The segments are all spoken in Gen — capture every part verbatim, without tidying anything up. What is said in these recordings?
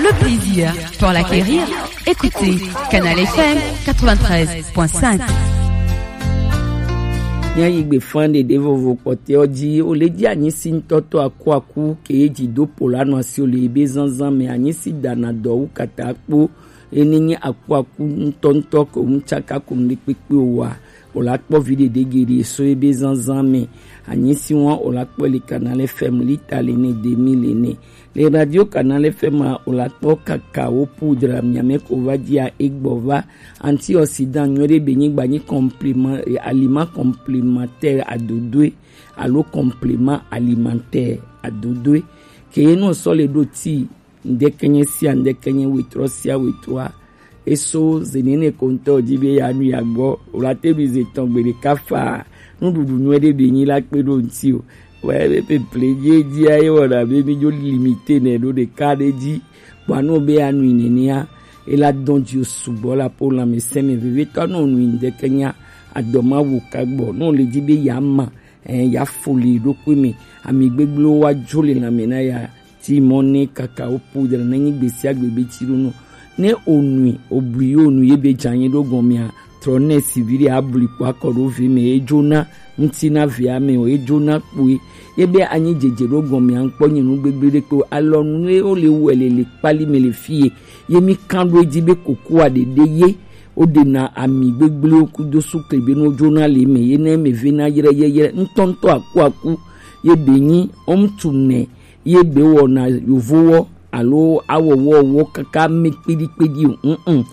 Le plaisir pour l'acquérir, écoutez Canal F M quatre-vingt-treize point cinq. Míayi gbe fã ɖeɖe vovo kpɔtɛwo dzi, wo le dzi anyisi ŋutɔtɔ akuaku ke dzi do po la nɔ asi wo le ebe zanzan mɛ, anyisi dana dɔ wu katakpo, ene nyi akuaku ŋutɔŋutɔ ko ŋu tsaka ko ŋɖe kpekpe o wa, o la kpɔ vi ɖeɖe geɖe so ebe zanzan mɛ. Anyisi wa o la kpɔ le Canal F M lita le ne demi le ne. Le Radio Canal F M a, o la kpɔ kakao poudre miamɛ ko va dzia egbɔ va. Antioxydant nyuie ɖe be nyigba nyi complément, eh, aliment complémentaire adodoe alo complément alimentaire adodoe. Ke ye no sɔ le ɖo ti ŋdɛkɛnyɛ sia ŋdɛkɛnyɛ wetrɔ sia wetrɔa. Eso zenene koŋtɔ di be ya nu ya gbɔ, o la te ɖu ze tɔn gbe ɖeka fa, nuɖuɖu nyuie ɖe be nyi la kpe ɖo ŋti o. Wɛ be peple dzi dzi aye wɔna be mi dzo limite nɛ ɖo ɖeka ɖe dzi. Kpɔa no be ya nui nenea, e la dɔn dzi o sugbɔ la po lãmesẽ mɛ vevetɔ no nui ŋdɛkɛnya adɔ ma wo ka gbɔ, no le dzi be ya ma, eh, ya fo le ɖokui mɛ, ami gbegblẽwo wa dzo le lãme na ya. Ti mɔ ne kakao poudre ne nyi gbe sia gbe be tsi ɖo nɔ. Ne o nui, o bui yo nu ye be dza nyi ɖo gɔmea, trɔ ne si vi ɖe abli kpɔ akɔ ɖo vi mɛ, e dzona ŋti na via mɛ o, e dzona kpoe. Ye be anyi dzedze ɖo gɔmea ŋkpɔ nyi nu gbegble ɖe kpe o. Alɔnu ye wo le wɛ le le kpali mɛ le fie. Ye mi kan ɖo edzi be kokoa ɖeɖe ye. Wo ɖena ami gbegble wo kudo sukle be no dzona le mɛ. Ye ne mɛ ve na yre yeyre. Ŋtɔŋtɔ aku aku. Ye be nyi, o ŋtu nɛ. Ye be wɔna yovowɔ alo awɔwɔwɔ kaka me kpeɖikpeɖi o. Mm-mm.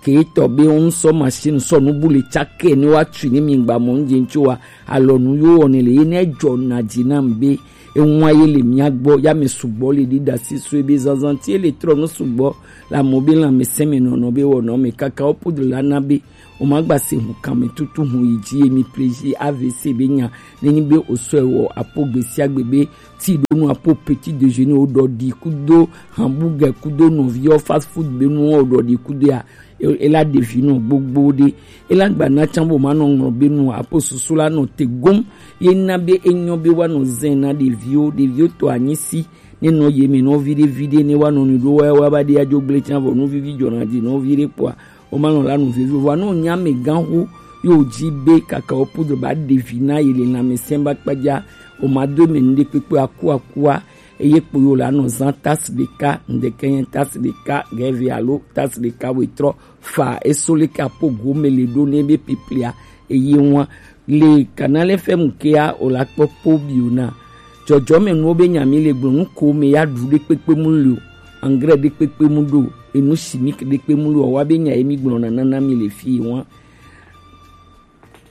Ke tɔ be wo ŋsɔ machine sɔ nu bu le tsake ne wa tsui ne mi gba mɔ ŋdze ŋtsi wa, alɔnu yo wɔne le ye ne dzɔ na dzi na be eŋua ye le mia gbɔ, ya me sugbɔ le ɖi ɖasi so ebe zanzan ti le trɔ nu sugbɔ la mɔ be lãmesẽ me nɔnɔ be wɔnɔ me kaka wo poudre la na be o ma gba se ŋu kan me tutu ŋu yi dzi ye mi plaisir A V C be nya ne nyi be o sɔe wɔ apo gbe sia gbe be ti ɖo nu apo petit déjeuner o ɖɔ ɖi kudo hamburger kudo nɔviɔ fast food be nu o ɖɔ ɖi kudo ya. E, e la ɖevi nɔ gbogbo ɖe. E la gba na tsan bo ma nɔ ŋlɔ be nu apo susu la nɔ te gom. Ye na be enyɔ be wa nɔ zɛn na ɖeviwo, ɖeviwo to anyi si. Ne nɔ ye me nɔ vi ɖe vi ɖe ne wa nɔ nu ɖo wa wa ba ɖe adzo gble tsan vɔ nu vivi dzɔ na di nɔ vi ɖe kpɔa. O ma nɔ la nu vivi vɔ no nya me gan hu yo dzi be kaka o poudre ba ɖevi na ye le lãmesẽ ba kpadza. O ma do me nu ɖe kpekpe aku akua. Eye kpo yo la nɔ zan tasse ɖeka, ŋdɛkɛnyɛ tasse ɖeka, gɛvi alo tasse ɖeka wetrɔ fa eso leke apo gome le ɖo ne be piplia eye ŋua le Canal F M kea o la kpɔ kpo bio na. Dzɔdzɔme nuwo be nya mi le gblɔ nu ko me ya ɖu ɖe kpekpe mu le o, engrais ɖe kpekpe mu ɖo, enu chimique ɖe kpe mu le o, wa be nya ye mi gblɔ na nana mi le fi ŋua.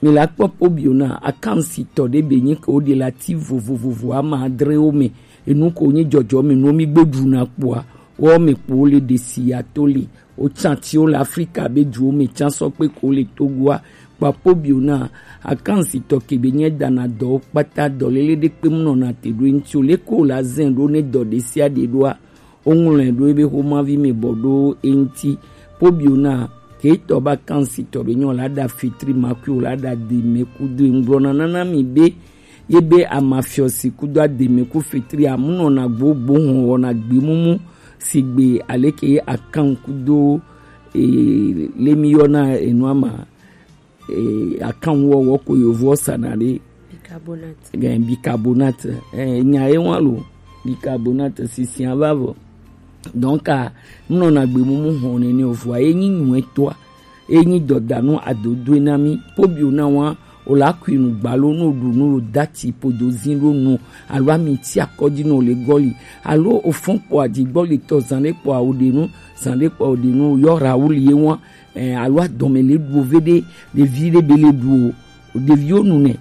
Mi la kpɔ kpo bio na akansitɔ ɖe be nyi ke wo ɖe la ti vovovovo ama adrewo me. Enu ko nyi dzɔdzɔme nuwo mi gbe ɖu na kpoa, wo me kpo wo le ɖe si ya to le. Wo tsan ti wo le Afrika be duwo me tsan sɔ kpe ko le Togoa. Kpa kpo bio na akansitɔ ke be nye dana dɔwo kpata dɔ lele ɖe kpe mu nɔna te ɖo ŋti o le ko la zɛn ɖo ne dɔ ɖe sia ɖe ɖoa. Woŋlɔe ɖo ebe xomavi me bɔ ɖo eŋti. Pobio na ketɔ ba kansitɔ be nyɔ la ɖa fitri makui o la ɖa de me kudo eŋgblɔ na nana mi be ye be amafiɔsi kudo ademe ku fitri amunɔ na gbogbo hɔn wɔna gbemumu sigbe aleke ye akan kudo e, lemi yɔna enua ma eh, akanwɔwɔ ko yovoɔ sana ɖe. Bicarbonate. Eh, bicarbonate. Eh, nya ye wa lo. Bicarbonate sisiã va vɔ. Donc a nɔna gbe mumu hɔn nene o vɔa ye nyi nyuɛtɔa. Ye nyi dɔdanu adodoe na mi. Pobio na wa o la kui nu gbalo no ɖu nu lo dati podo zin ɖo nu alo ami ti akɔdzi no le gɔli alo o fɔn kpɔ adi gbɔli tɔ zan ɖe kpɔ awo ɖe nu zan ɖe kpɔ awo ɖe nu yɔ Raoul ye wa eh, alo adɔme le ɖu ve ɖe ɖevi ɖe be le ɖu o ɖeviwo nu nɛ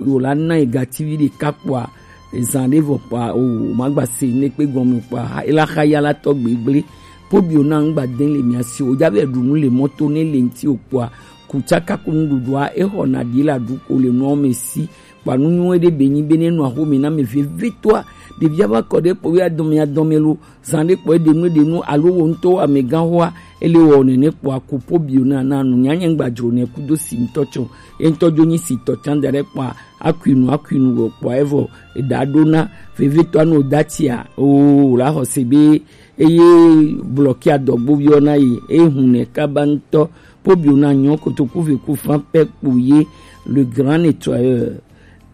o la na ega ti vi ɖeka kpɔa ezan ɖe vɔ kpɔa o magba se ne kpe gɔme kpɔa ela xa ya la tɔ gbegble pobio na ŋgba de le mia si o jabe ɖu nu le mɔto ne le ŋti o kpɔa kutsaka ko nuɖuɖua exɔ na ɖi la ɖu ko le nuɔ me si kpɔa nu nyuie ɖe be nyi be ne nua xome na me vevetɔa Ɖevia va kɔ ɖe kpo ya dɔmɛ ya dɔmɛ lo, zan ɖe kpɔ eɖe nu eɖe nu alo wo ŋutɔ amɛgã hoa, ele wɔ nɛnɛ kpɔa, ko po bio na na nu nyanya ŋgba dzro nɛ kudo si ŋutɔ tsɔ. Ye ŋutɔ dzo nyi si tɔ tsan da ɖe kpɔa, akui nu akui nu wɔ kpɔa evɔ eɖa ɖo na vevetɔ anu da tia o la xɔ se be eye blɔkia dɔgbo yɔ na yi eye hun nɛ kaba ŋutɔ. Po bio na nyɔ kotoku ve ku fan pɛ kpo ye le grand nettoyeur.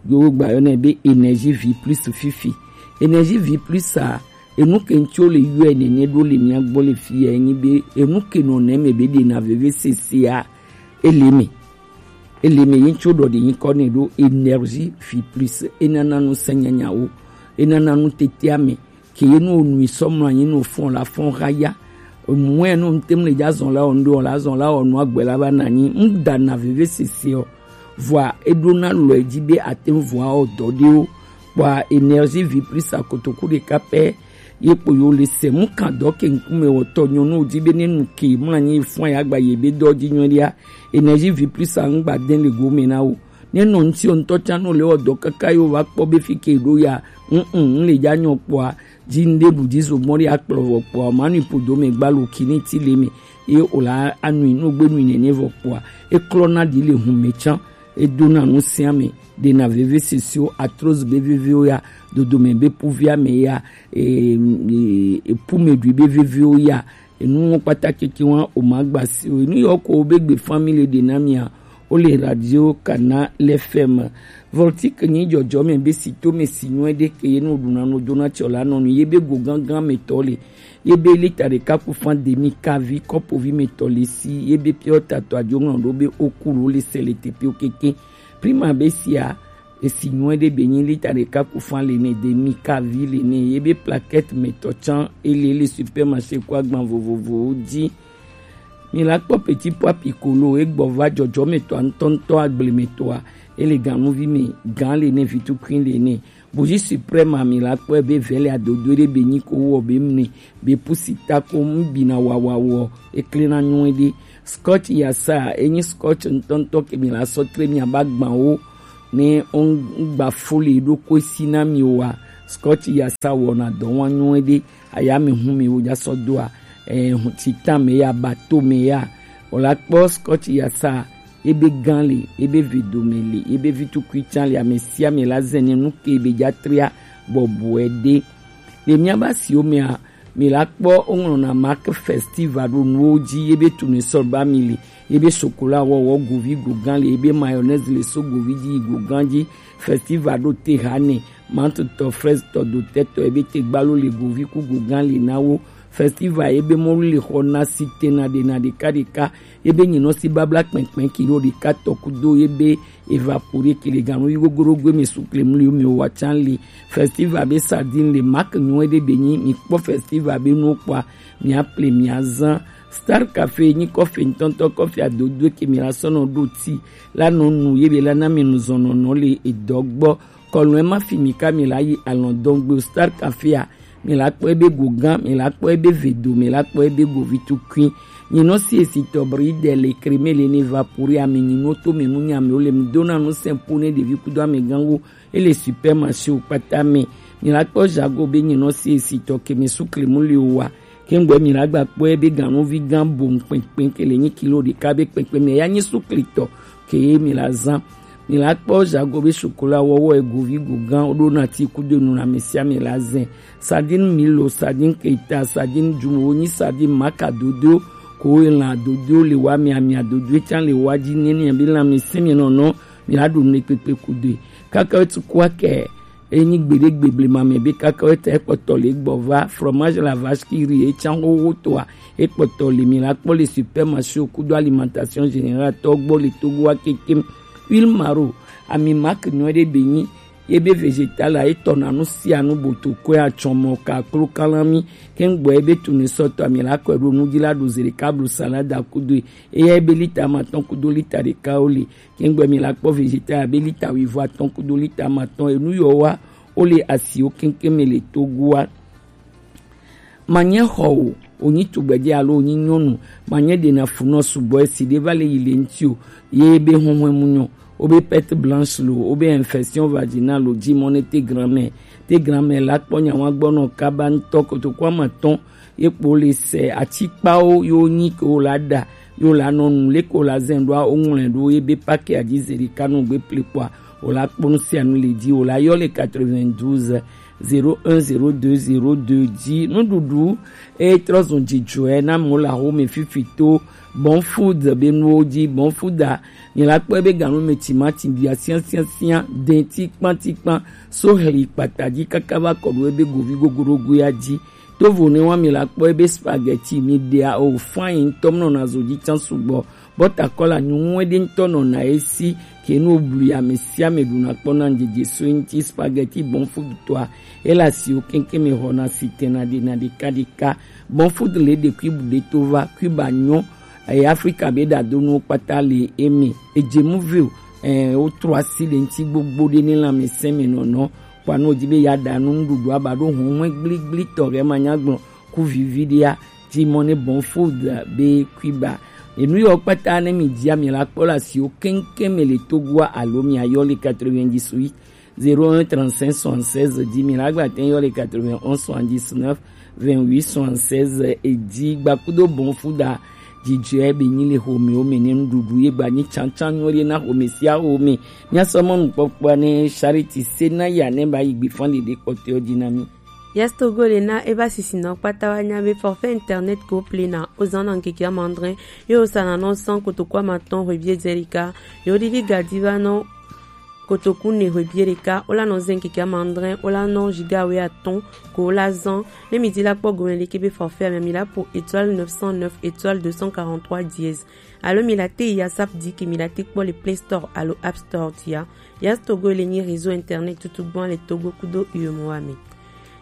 Yo gba yɔ nɛ be énergie vie plus fifi. Énergie vie plus a, enu ke ŋtsi wo le yɔe nɛnɛ ɖo le mía gbɔ le fi ya enyi be enu ke nɔ nɛ me be ɖe na veve sese a, ele me. Ele me ye ŋtsi wo ɖɔ ɖe nyi kɔ nɛ ɖo énergie vie plus. Enana nu sɛ nyanyawo. Enana nu tete ame. Ke ye nu onui sɔ mlɔ anyi nu ofɔn la fɔn ha ya. Mue nu ŋtem le dza zɔn la wɔ nu ɖe wɔ la zɔn la wɔ nu agbe la va na anyi. Ŋda na veve sese ɔ. Vɔa eɖo na lɔ edzi be ate ŋu vɔa wɔ dɔ ɖewo. Kpɔa énergie vie plus a kotoku ɖeka pɛ ye kpo yo le se mu kan dɔ ke ŋkume wɔ tɔ nyɔnu dzi be ne nu ke mlɔ anyi fɔn ya gba ye be dɔ dzi nyɔ ɖia. Énergie vie plus a ŋgba den le gome na wo. Ne nɔ ŋuti ŋutɔ tsã no le wɔ dɔ kaka yo va kpɔ be fi ke ɖo ya. Ŋ ŋ le dza nyɔ kpɔa. Dzi ŋɖe ɖu dzi zo mɔ ɖe akplɔ vɔ kpɔa, ma nui ƒodo me gba lo kini ti le me. Ye o la anui no gbe nui nene vɔ kpɔa, eklɔ na ɖi le hun me tsã. Edo na nu sia me ɖe na veve sisiwo, atroz be vevewo ya, dodome be puvia me ya, e, e, epume ɖui be vevewo ya. Enu ŋɔ kpata keke wa o ma gba si o. Enu yɔ ko be gbe family ɖe na mia. Wo le radio kana le fm. Voltik nyi dzɔdzɔ me be si to me si nyɔe ɖe ke ye no ɖuna no dona tsɔ la nɔ nu ye be go gangan me tɔ le. Ye be lita ɖeka ku fan demi kavi kɔpovi me tɔ le si ye be piɔ tatɔ adzo ŋlɔ ɖo be o ku lo le se le tepe o keke. Prima be sia esi nyɔe ɖe be nyi lita ɖeka ku fan le ne demi kavi le ne ye be plaquette me tɔ tsã ele le supermarché ko agban vovovowo dzi. Mi la kpɔ petit pois piccolo egbɔ va dzɔdzɔmetɔa ŋutɔŋutɔ agblemetɔa, ele ganuvi me gã le ne vitukui le ne. Bougie suprême a mi la kpɔe be vɛlɛ adodo ɖe be nyi ko wɔ be mne be pusi ta ko ŋbina wawa wɔ eklena nyuie ɖe. Scotch yasa enyi scotch ŋutɔŋutɔ ke mi la sɔ tre mi aba gbawo ne ŋgba fo le ɖo ko esi na mi wa. Scotch yasa wɔna dɔ wa nyuie ɖe. Aya mi hu mi wo dza sɔ doa, eh, hu titan me ya, bato me ya. O la kpɔ scotch yasa, ebe gan le, ebe vido me le, ebe vitukui tsan le, ame sia ame la zɛnɛ nu ke be dza tria bɔbɔe ɖe. Le mía ba siwo mea, mi la kpɔ woŋlɔna mark festival ɖo nuwo dzi, ebe tournesol ba mi le, ebe chocolat wɔwɔ govi go gan le, ebe mayonnaise le so govi dzi yi go gan dzi, festival ɖo te ha ne, mantutɔ, fraisetɔ, dotɛtɔ, ebe te gbalo le govi ku go gan le na wo. Festival ebe mɔlu le xɔ na si tena ɖe na ɖeka ɖeka. Ebe nyinɔ si babla kpɛnkpɛn kilo ɖeka tɔ kudo ebe evapore ke le ganu yi gogoro gbe mi su kle mli mi wa tsan le. Festival be sardine le mark nyuie ɖe be nyi mi kpɔ festival be nuwo kpɔa mi aple mi azan. Star Cafe nyi kɔfe ŋutɔŋutɔ kɔfe adodoe ke mi la sɔnɔ ɖo ti la nɔ nu ye be la na mi nu zɔnɔnɔ le edɔ gbɔ. Kɔlɔn ma fi mi ka mi la yi alɔn dɔn gbe o Star Cafe a. Mi la kpɔ ebe go gan, mi la kpɔ ebe vedo, mi la kpɔ ebe go vitukui. Nyinɔ si esi tɔbri de le kreme le ne vapori ame nyinɔ to me nu nya me o le mi dona nu sɛnpo ne ɖevi kudo ame gango ele supermarché o kpata me. Mi la kpɔ jago be nyinɔ si esi tɔ ke mi su kremu le o wa. Kengbe mi la gba kpɔ ebe ganuvi gan bo kpɛnkpɛn ke le nyi kilo ɖeka be kpɛnkpɛn me ya nyi su klitɔ ke mi la zan. Mi la kpɔ jago be chocolat wɔwɔ egovi go gan o ɖo na ti kudo nu na mi sia mi la zɛn. Sardine milo, sardine keta, sardine jumo, wo nyi sardine maka dodo, ko wo lan dodo le wa mi ami adodo etsan le wa dzi nene bi lan mi simi nɔnɔ, mi la ɖo ne kpekpe kudo. Kaka tu kwa ke enyi gbeɖe gbeblema me be kaka wo ta ekpɔtɔ le gbɔ va fromage la vache qui rit etsan xoxo toa ekpɔtɔ le mi la kpɔ le supermarché kudo alimentation générale tɔ gbɔ le Togo wa kekem. Huile maro ami mark nyuie ɖe be nyi ye be vegetal a etɔ na nu sia nu boto kɔe atsɔmɔ ka klo kalami. Kengbe ye be tournesol tɔ ami la kɔe ɖo nu dzi la ɖo ze ɖeka blu salade kudo ye ye be lita matɔn kudo lita ɖeka wo le. Kengbe mi la kpɔ vegetal abe lita wuivo atɔn kudo lita matɔn enu yɔ wa wo le asiwo keŋkeŋ me le Togo wa. Manye xɔ o, wonyi tugbedze alo wonyi nyɔnu, manye ɖena funɔ sugbɔ esi ɖe va le yi le ŋuti o, ye be huhɔe mu nyɔ. wobe perte blanche lo, wobe infection vaginale lo, ji mɔ ne te grand-mère. Te grand-mère la kpɔ nyawa gbɔ nɔ kaba ŋutɔ, kotoku amatɔn ye kpo le se atikpawo yo nyi ke wo la ɖa, yo la nɔ nu le ko la zɛn ɖoa, wo ŋlɔe ɖo ye be pake adzi ze ɖeka nɔ gbe ple kpɔa, wo la kpɔ nu sia nu le dzi, wo la yɔ le quatre-vingt-douze, zéro un, zéro deux, zéro deux dzi. Nuɖuɖu e trɔ zun dzidzɔe na mo la xo me fifi to Bon Food be nuwo dzi. Bon Food a, mi la kpɔe be ganu me timati bia siã siã siã, dɛn tikpan tikpan, so hli kpata dzi kaka va kɔ ɖo ebe govi gogorogoea dzi. Tovo ne wa mi la kpɔe be spaghetti mi ɖea o fine ŋutɔ, nɔna zo dzi tsã sugbɔ. Bɔta kɔla nyuŋu ɖe ŋutɔ nɔna esi ke nu blu ame sia ame ɖuna kpɔna ŋdzedze so ŋuti. Spaghetti Bon Food tɔa, ela siwo keŋkeŋ me xɔna si tena ɖe na ɖeka ɖeka. Bon Food le ɖe kui bu ɖe to va kui ba nyɔ. Eye Afrika be ɖadonuwo kpata le eme. Edze mu vio, eh, wotrɔ asi le ŋuti gbogbo ɖe ne lãmesẽ me nɔnɔ. Kpɔa ne wòdi be yeaɖa nu nuɖuɖu aba ɖo huhlɔ̃ gbligbli tɔ ɖe manyagblɔ ku vivi ɖea, ji mɔ ne Bon Food be kui ba. Enu yawo kpata ne mi dia mi la kpɔ le asiwo keŋkeŋ me le Togoa alo mi ayɔ le quatre-vingt-dix-huit, zéro un, trente-cinq, soixante-seize dix mille. Agba te yɔ le quatre-vingt-onze, soixante-dix-neuf, vingt-huit, soixante-seize. Edi gba kudo Bon Food a, dzidzɔe be nyi le xɔmewo me ne nuɖuɖu ye gba nyi tsantsan nyuie ɖe na xɔme sia xɔme. Míasɔ mɔnukpɔkpɔa ne Charity Senaya ne ba yi gbe fan ɖeɖe kpɔtɔewo dzi na mí. Yes Togo le na eva sisinɔ kpata wa nya be forfait internet ko plena o zan na ŋkeke amandre, yo o sana nɔ san kotoku amatɔn hwebie dzɛlika, yo ɖiɖi gadi va nɔ kotoku ne hwebie ɖeka, o la nɔ zɛn ŋkeke amandre, o la nɔ giga we atɔn ko o la zan. Ne mi di la kpɔ gome leke be forfait amia mi la po étoile neuf cent neuf étoile deux cent quarante-trois dièse. Alo mi la te yi asap di ke mi la te kpɔ le Play Store alo App Store dia. Yes Togo le nyi réseau internet tutu gbɔn le Togo kudo U E M O A me.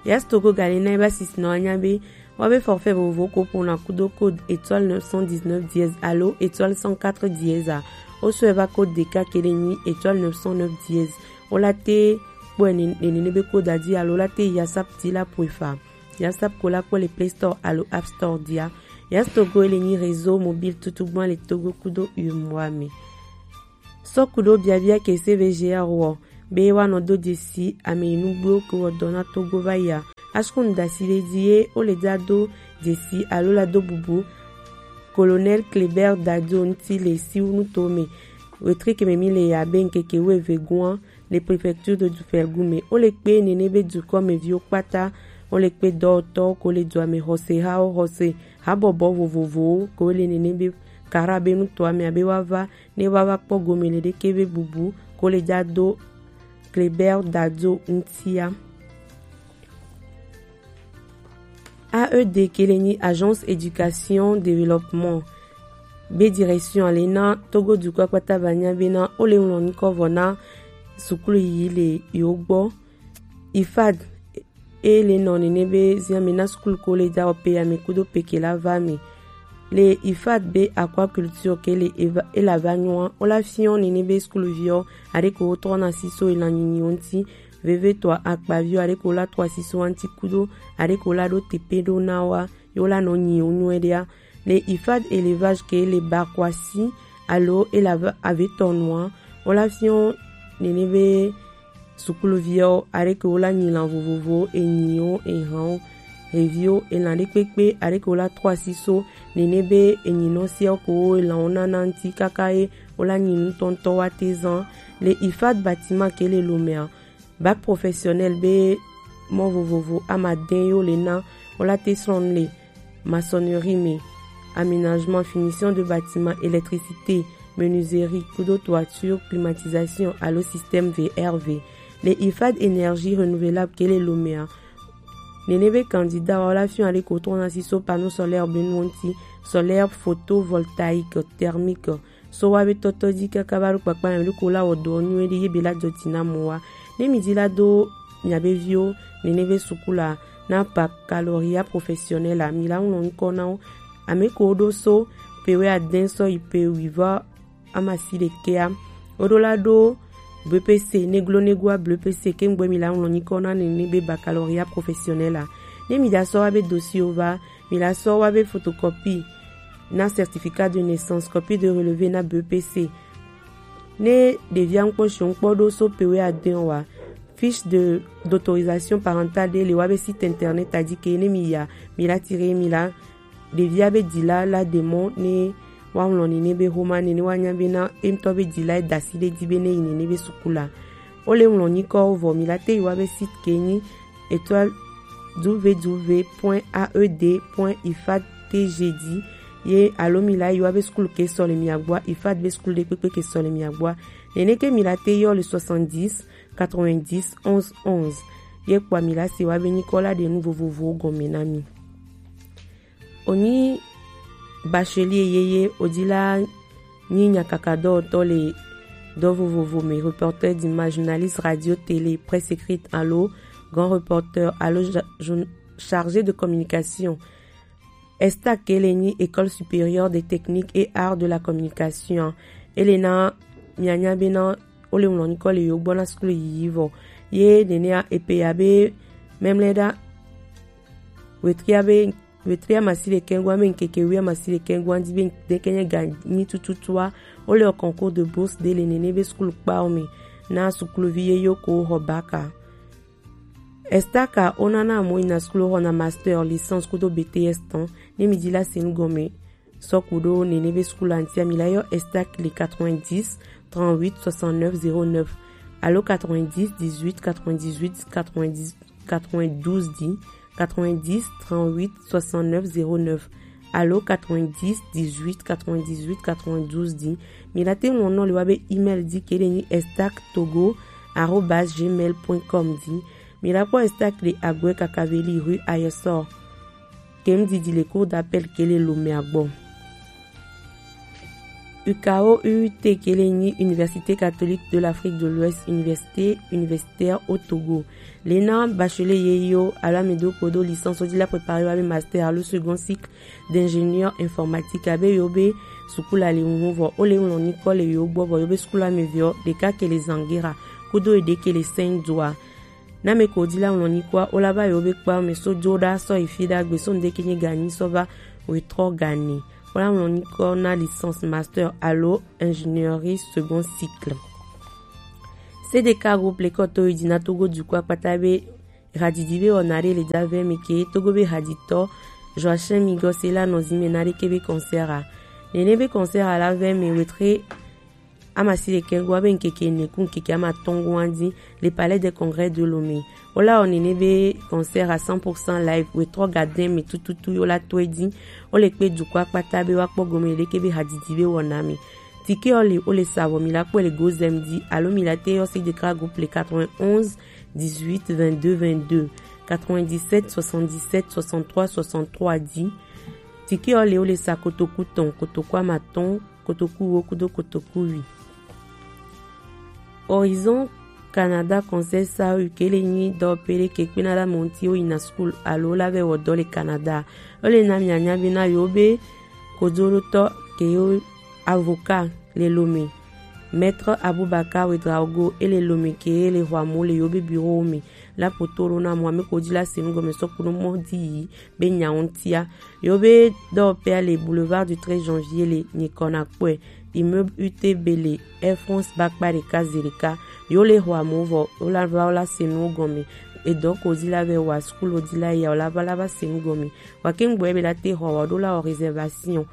Yes Togo gale na eba sisinɔ anya be wa be forfait vovovo ko pona kudo code étoile neuf cent dix-neuf dièse alo étoile cent quatre dièse a. O so eva code de ka ke le nyi étoile neuf cent neuf dièse. O la te kpɔ ene ene ne be code a di alo la te yi asap di la po efa. Yasap ko la kpɔ le Play Store alo App Store dia. Yas Togo ele nyi réseau mobile tutu gbɔn le Togo kudo U E M O A me. Sɔ kudo biabia ke C V G R wɔ be wa nɔ do dzesi ame yi nugbo ke wɔ dɔ na Togo va ya. Asukun dasi le di ye o le da do dzesi alo la do bubu Colonel Kléber Dadio ŋuti le siwunu to me. Wetri ke me mi le ya be ŋkeke wuieve gua le préfecture de Dufel Gume. O le kpe nene be dukɔ me viwo kpata, o le kpe dɔwɔtɔwo ko le dua me xɔsehawo xɔse habɔbɔ vovovowo ko le nene be kara be nutɔa me abe wa va ne wa va kpɔ gome le ɖeke be bubu ko le ja do Kléber Dadio ŋutia. A E D ke le nyi Agence Éducation Développement be direction le na Togo dukɔ kpata ba nya be na o le ŋlɔ nukɔ vɔ na sukulu yiyi le yewo gbɔ. IFAD e le nɔ nene be ziame na sukulu ko le ja wɔ pe ame kudo pe ke la va me. Le IFAD be aquaculture ke le eva, e la va nyɔa, o la fiɔ nene be sukuluviɔ aɖe ko wo trɔ na siso elan nyinyi wo ŋuti. Veve tɔ akpaviɔ aɖe ko la trɔ asiso wa ŋuti kudo aɖe ko la ɖo tepe ɖo na wa yo la nɔ nyi wo nyuie ɖea. Le IFAD élevage ke le bakwasi alo e la va ave tɔ nua, o la fiɔ nene be sukuluviwo aɖe ke wo la nyi lan vovovowo, enyiwo, ehanwo, heviwo, elan ɖekpekpe aɖe ke wo la trɔ asiso nene be enyinɔ siawo ke wo elanwo nana ŋuti kaka ye wo la nyi nutɔntɔ wa te zan. Le IFAD bâtiment ke le lomea, bac professionnel be mɔ vovovo amadɛn yo le na, o la te srɔn le maçonnerie me, aménagement, finition de bâtiment, électricité, menuiserie, kudo toiture, climatisation alo système V R V. Le IFAD énergie renouvelable ke le lomea, nene be candidat wa o la fiɔ aɖe ko trɔ na siso panneau solaire be nuwo ŋuti, solaire photovoltaïque, thermique, so wa be tɔtɔ ji kaka va ɖo kpakpa me ɖo ko la wɔ dɔ nyuie ɖe ye be la jɔ ji na mɔ wa. Ne mi ji la do mia be viwo nene be sukulu a na baccalauréat professionnel a, mi la ŋlɔ ŋkɔ na wo. Ame ko ɖo so pe wɛ adɛn sɔ yi pe wi va amasi ɖekɛa, wo ɖo la ɖo B P C, neglo negua B P C ke ŋgbɛ mi la ŋlɔ nyikɔ na nene be baccalauréat professionnel a. Ne mi da sɔ wa be dossier wo va, mi la sɔ wa be photocopie na certificat de naissance, copie de relevé na B P C. Ne ɖevia ŋkpɔ si ŋkpɔ ɖo so pe wɛ ade wa, fiche de, d'autorisation parentale ɖe le wa be site internet a dzi ke ne mi ya, mi la tire mi la ɖevia be dila la de mɔ ne wa ŋlɔ ni ne be homa ne ne wa nya be na e ŋutɔ be dila e dasi ɖe dzi be ne yi ne ne be suku la. O le ŋlɔ nyikɔ vɔ mi la te yi wa be site ke nyi étoile w w w point a e d point ifad t g dzi ye alo mi la yi wa be sukulu ke sɔ le mia gbɔa, ifad be sukulu ɖe kpekpe ke sɔ le mia gbɔa. Nene ke mi la te yɔ le soixante-dix quatre-vingt-dix onze onze. Ye kpɔa mi la se wa be nyikɔ la ɖe nu vovovowo gɔme na mi. Onyi bachelier yeye odi la nyi nyakaka dɔwɔtɔ le dɔ vovovo me, reporter d'image, journaliste radio, télé, presse écrite alo grand reporter alo ja-, journ-, chargé de communication. Estac ke le nyi École supérieure des techniques et arts de la communication. Ele na mianya be na o le ŋlɔ nyikɔ le yo gbɔ na sukulu yiyi vɔ. Ye nenea epe ya be memle ɖa wetria be wetria masi le kɛngua me ŋkeke wia masi le kɛngua di be ŋdeke nye ga nyi tututua. O le concours de bourse de le nene be sukulu kpawo me na sukuluvi ye yo ko xɔ baka. Estac a o nana mo yina sukulu xɔna master, licence kudo B T S tɔn. Ne mi di la se nu gɔme sɔ ku ɖo nene be sukulu antia mi la yɔ Estac le quatre-vingt-dix trente-huit soixante-neuf zéro neuf alo quatre-vingt-dix dix-huit quatre-vingt-dix-huit quatre-vingt-dix quatre-vingt-douze dix, quatre-vingt-dix trente-huit soixante-neuf zéro neuf alo quatre-vingt-dix dix-huit quatre-vingt-dix-huit quatre-vingt-douze dix. Mi la te ŋlɔ nɔ le wa be email di ke ɖe nyi estac togo arobase gmail point com di. Mi la kpɔ Estac le Agbɔɛ Kakaveli rue Ayesor. Ke ŋdidi le cour d'appel ke le Lomé a gbɔ. U K O U T ke le nyi Université catholique de l'Afrique de l'Ouest, université universitaire au Togo. Le na bachelier ye yo alo ame do kpodo licence o di la préparer wa be master alo second cycle d'ingénieur informatique abe yo be sukulu a le ŋu vɔ o le ŋlɔ nyikɔ le yo gbɔ vɔ yo be sukulu ame vɔ ɖeka ke le Zangera kudo eɖe ke le Saint-Doua. Na me ko di la ŋlɔ nyikɔa o la va yo be kpa me so jo ɖa sɔ yi fi ɖa gbe so ŋdeke nye ganyi sɔ va wetrɔ gane. O la ŋlɔ nyikɔ na licence, master alo ingénierie second cycle. C D K groupe le kɔ to yi di na Togo dukɔ akpata be hadidi be wɔna ɖe le da vɛ mi ke Togo be haditɔ Joachim Migos la nɔ zi me na ɖe ke be concert a. Nene be concert a la vɛ mi wetre amasi ɖekɛ goa be ŋkeke ene ku ŋkeke amatɔ̃ goa di le Palais des Congrès de Lomé. O la wɔ nene be concert à cent pour cent live wetrɔ gadin me tututu yo la to e di. O le kpe dukɔ akpata be wa kpɔ gome ɖeke be hadidi be wɔna me. Tike o le o le sa vɔ mi la kpɔ le Gozem di alo mi la te yɔ C D K groupe le quatre-vingt-onze dix-huit vingt-deux vingt-deux, quatre-vingt-dix-sept soixante-dix-sept soixante-trois soixante-trois di. Tike o le o le sa kotoku tɔn, kotoku amatɔ̃, kotoku wo kudo kotoku wi. Horizon Canada Conseil S A U ke le nyi dɔwɔƒe ɖe ke kpena ɖe ame ŋuti wo yina school alo la vɛ wɔ dɔ le Canada. O le na mianya be na yo be kojoɖotɔ ke yo avocat le Lomé. Maître Abubakar Ouedraogo e le Lomé ke le hwa mo le yo be bureau me. La poto ɖo na mo ame ko di la se nu gɔme sɔ kudo mɔ di yi be nya ŋutia. Yo be dɔwɔƒea le boulevard du treize janvier le nyikɔ na kpɔe. Immeuble U T B le Air France ba kpa ɖeka ze ɖeka. Yo le xɔ amewo vɔ wo la va wo la se nuwo gɔme. Edɔ ko di la vɛ wa school di la ya wo la va la va se nu gɔme. Wa ke ŋgbɔ be la te xɔ wa ɖo la wɔ réservation.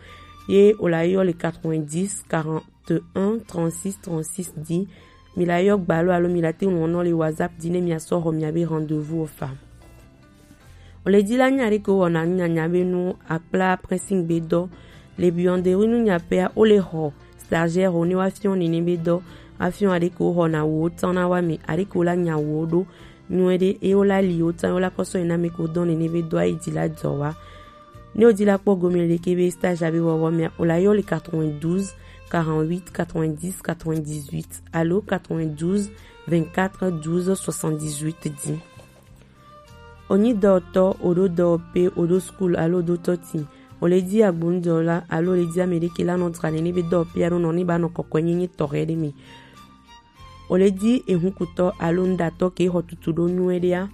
Ye wo la yɔ le quatre-vingt-dix quarante-un trente-six trente-six di. Mi la yɔ gbalo alo mi la te ŋlɔ nɔ le WhatsApp di ne mi asɔ xɔ mi abe rendez-vous o fa. O le di la nya ɖe ke wɔna nyanya be nu akpla pressing be dɔ. Le buanderie nu nya pea o le xɔ stagiaire o ne wa fiɔ nene be dɔ. Afiɔ aɖe ke wo xɔna wo tɔn na wa mi aɖe ke wo la nya wo ɖo nyuie ɖe e wo la li wo tɔn wo la kɔsɔ yi na me ko dɔ nene be dɔ ayi di la dɔ wa. Ne o di la kpɔ gome le ke be stage abe wɔwɔ mea o la yɔ le quatre-vingt-douze quarante-huit quatre-vingt-dix quatre-vingt-dix-huit alo quatre-vingt-douze vingt-quatre douze soixante-dix-huit di. O nyi dɔwɔtɔ, o ɖo dɔwɔƒe, o ɖo school alo o ɖo tɔti. O le di agbonudɔla alo o le di ame ɖe ke la nɔ dra nene be dɔwɔƒe alo nɔ ne ba nɔ kɔkɔe nyenye tɔxɛ ɖe me. O le di ehunkutɔ alo nuɖatɔ ke xɔ tutu ɖo nyuie ɖea.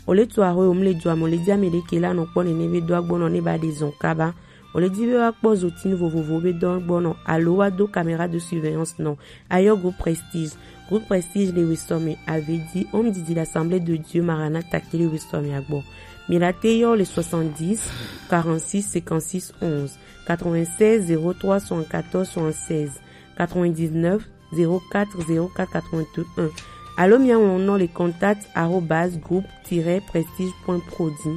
O le tu axɔ o mu le dua me o le di ame ɖe ke la nɔ kpɔ nene be do agbɔnɔ ne ba ɖe zɔn kaba. O le ji be wa kpɔ zotinu vovovowo be dɔ gbɔ nɔ alo wa do caméra de surveillance nɔ, a yɔ groupe Prestige. Groupe Prestige le wesɔ mɛ, a vle ji Home Didi l'Assemblée de Dieu Maranatha ke le wesɔ mɛ a gbɔ. Mi la te yɔ le soixante-dix, quarante-six, cinquante-six, onze, quatre-vingt-seize, zéro trois, soixante-quatorze, soixante-seize, quatre-vingt-dix-neuf, zéro quatre, zéro quatre, quatre-vingt-un. Alo mi a wɔn nɔ le contact arobase groupe tiret prestige point pro dzi.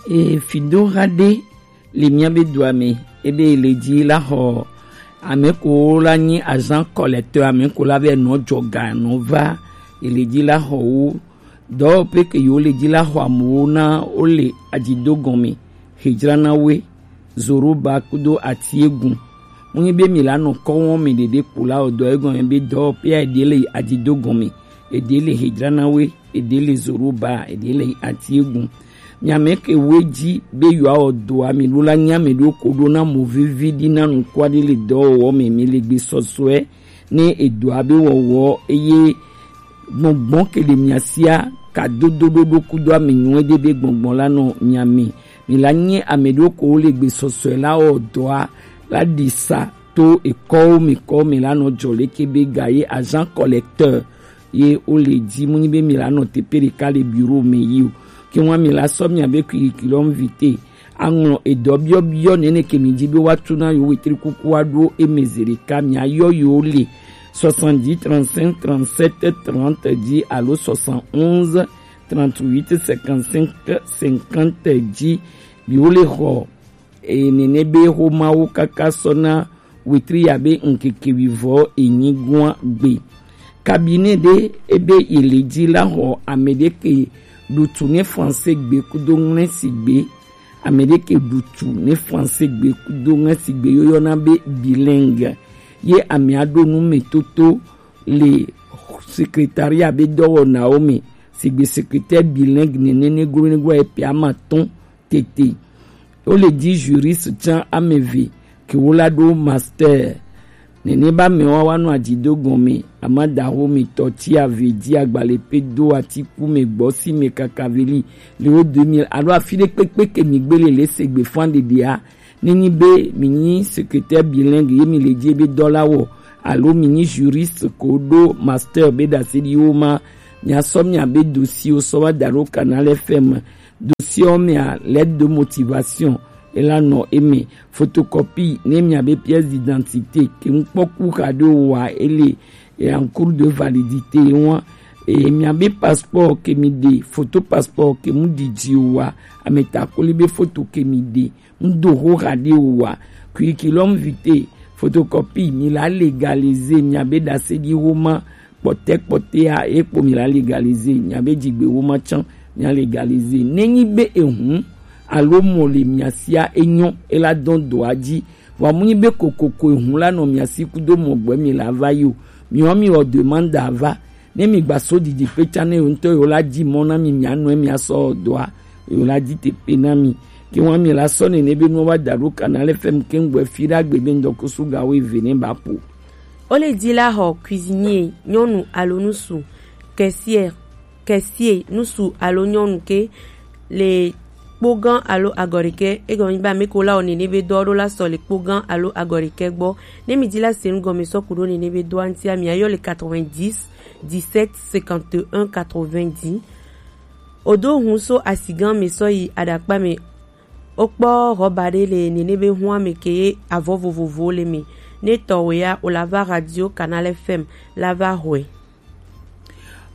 E fido xa ɖe le mía be dua me, ebe le ji la xɔ ame ko la nyi agent collecteur, ame ko la be nɔ jɔ ga nɔ va, ele ji la xɔ wo. Dɔwɔƒe ke yewo le ji la xɔ amewo na wo le adzido gɔme, hejrana we, zoroba kudo atiegun. Mu nyi be mi la nɔ kɔ wɔm mi ɖeɖe kpo la o dɔ egɔme be dɔwɔƒea eɖe le adzido gɔme, eɖe le hejrana we, eɖe le zoroba, eɖe le atiegun. Miame ke wo dzi be yewoawɔ dɔa mi ɖo la nya ame ɖewo ko ɖo na mo vivi ɖi na nukua ɖe le dɔwɔwɔ me mi le gbe sɔsɔe ne edɔa be wɔwɔ eye gbɔngbɔn ke le mia sia ka dodo ɖoɖo kudo ame nyuie ɖe be gbɔngbɔn la nɔ mia me. Mi la nye ame ɖewo ko wo le gbe sɔsɔe la wɔ dɔa la ɖi sa to ekɔwo me kɔ me la nɔ jɔ leke be ga ye agent collecteur ye wo le ji mu nyi be mi la nɔ teƒe ɖeka le bureau me yi o. Ke ŋua mi la sɔ mia be curriculum vitae aŋlɔ edɔ biɔbiɔ nene ke mi ji be wa tu na yo wetri kuku wa ɖo eme ze ɖeka mia yɔ yo le soixante-dix trente-cinq trente-sept trente ji alo soixante-onze trente-huit cinquante-cinq cinquante ji. Bi wo le xɔ e, nene be xo mawo kaka sɔ na wetri ya be ŋkeke wivɔ enyi gua gbe. Cabinet ɖe ebe yi le ji la xɔ ame ɖe ke ɖutu ne français gbe kudo ŋlɛsi gbe, ame ɖe ke ɖutu ne français gbe kudo ŋlɛsi gbe yo yɔna be bilingue. Ye amea ɖo nu me toto le secrétariat be dɔwɔnawo me, sigbe secrétaire bilingue nene ne glo ne glo epe ama tɔn tete. Wo le ji juriste tsã ame eve ke wo la ɖo master. Nene ba me wa wa nɔ adzido gɔme, amadaho mi tɔ ti ave ji agbale pe do atiku me gbɔ si me kakaveli le wo deux mille alo afi ɖe kpekpe ke mi gbele le se gbe fan ɖeɖea. Ne nyi be mi nyi secrétaire bilingue ye mi le ji be dɔ la wɔ alo mi nyi juriste ko ɖo master be ɖase ɖi wo ma, mia sɔ mia be dossier wo sɔ wa da ɖo Canal F M. Dossier wo mea lettre de motivation ela nɔ eme, photocopie ne mia be pièce d'identité ke ŋkpɔku xa ɖo wa ele e en cours de validité wa e mia be passeport ke mi ɖe, photo passeport ke mu didi wa, ameta koli be photo ke mi ɖe, ŋdo xoxa ɖe o wa, curriculum vitae, photocopie mi la légaliser mia be ɖase ɖi wo ma kpɔtɛ kpɔtɛa ye kpo mi la légaliser mia be jigbe wo ma tsã mia légaliser ne nyi be ehun alo mɔ le mia sia enyɔ ela dɔn dɔa ji. Vɔ mu nyi be kokoko ehun la nɔ mia si kudo mɔ gbɛ mi la va yi o, mi wa mi wɔ demande ava ne mi gba so didi pe tsã ne yo ŋutɔ yo la ji mɔ na mi mia nɔe mia sɔ dɔa yo la ji te pe na mi. Ke wa mi la sɔ nene be nua wa da ɖo Canal F M ke ŋgbɛ fi ɖa gbe be ŋdɔ kusu ga wo eve ne ba po. Wo le ji la xɔ cuisinier nyɔnu alo ŋutsu, caissière, caissier ŋutsu alo nyɔnu ke le kpogã alo agɔɖekɛ egɔme nyi be ame ko la wɔ nene be dɔ ɖo la sɔ le kpogã alo agɔɖekɛ gbɔ. Ne mi ji la se nu gɔme sɔ ku ɖo nene be dɔa ŋutia mi ayɔ le quatre-vingt-dix dix-sept cinquante et un quatre-vingt-dix. Odo hun so asigã me sɔ yi aɖakpa me. Wokpɔ ɣɔba ɖe le nene be hua me ke ye avɔ vovovowo le me. Ne tɔwɛ ya o la va radio Canal F M la va hɔe.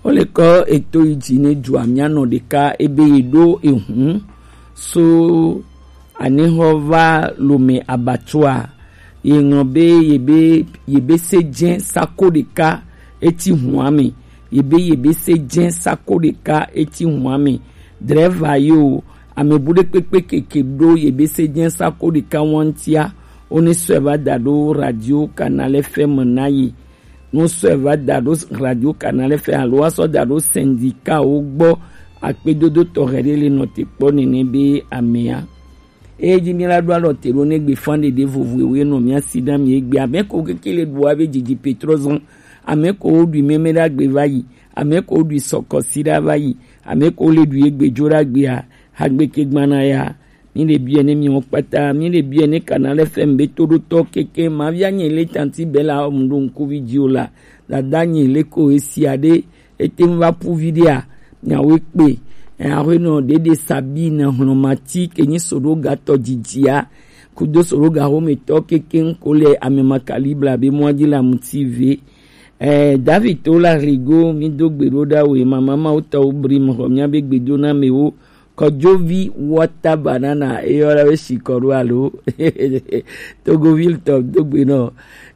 Wo le kɔ eto yi dzi ne dua mia nɔ ɖeka ebe ye ɖo ehun so anexɔ va lome abatua ye ŋlɔ be ye be ye be se dze sako ɖeka eti hua me ye be ye be se dze sako ɖeka eti hua me. Dreva yo ame bu ɖe kpekpe keke ɖo ye be se dze sako ɖeka wantia wo ne sɔe va da ɖo radio Canal F M na ye. Nusɔe va da ɖo radio Canal F M alo wa sɔ da ɖo syndicat wo gbɔ akpedodo tɔxɛ ɖe le nɔ te kpɔ nene be amea. Eye dzi mi la ɖo alɔ te ɖo ne gbe fan ɖeɖe vovo ewe nɔ mia si na mi egbe ame ko keke le ɖo abe dzidzi petrɔ zɔn ame ko wo ɖui meme ɖe agbe va yi ame ko wo ɖui sɔkɔsi ɖe va yi ame ko wo le ɖui egbe dzo ɖe agbea hagbe ke gbana ya Mi le biɛ ne mi wɔn kpata, mi le biɛ ne Canal F M be to ɖo tɔ keke, ma via nye le tanti be la mu ɖo ŋkuvi dzi o la. Dada nye le ko esia ɖe, ete ŋu va ƒu vi ɖea, nyawo kpe. Aƒenɔ ɖeɖe Sabine Hlɔmati ke nyi Soɖoga tɔ dzidzia, kudo Soɖoga xometɔ keke ŋko le ame ma kalibla be mɔa dzi le amuti ve. Eh, David Tola Rigo, mi do gbe ɖo ɖa we, mama ma wo tɔ wo bri mo xɔ mia be gbe do na me wo. Kɔjovi water banana, eyɔ la be si kɔ ɖo alo. Togoville tɔ do gbe nɔ.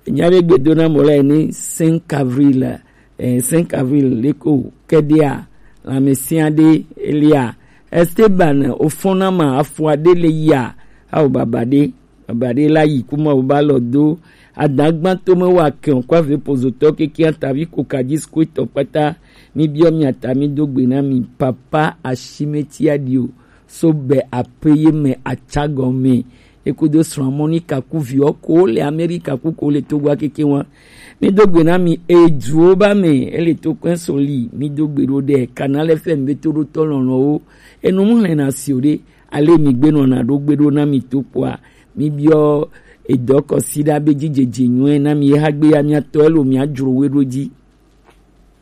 Nya be gbe do na mo le ni cinq avril, eh, cinq avril le ko kedea, la me sia de elia. Esteban, ofona ma afua de le ya. Awo baba de. Baba ɖe la yi kuma wo ba lɔ do. Adagba to me wa kɛn kwa ve pozotɔ keke atavi ko kadis ko tɔ kpata. Mi biɔ mi ata mi do gbe na mi papa asimeti adio. So be aƒe ye me atsa gɔme. Eko do srɔ̃ mɔ ni kaku viɔ ko le Amerika ku ko le Togo keke wa. Mi do gbe na mi eduwo ba me ele to kpɛn soli. Mi do gbe ɖo ɖe Canal F M be to ɖo tɔ lɔlɔwo. Enu mu hlɛna si o ɖe. Ale mi gbenɔna ɖo gbe ɖo na mi to kpɔa, mi biɔ edɔ kɔsiɖa be dzidzedze nyuie na mi ye hagbe ya mia tɔ elo mia dzro we ɖo dzi.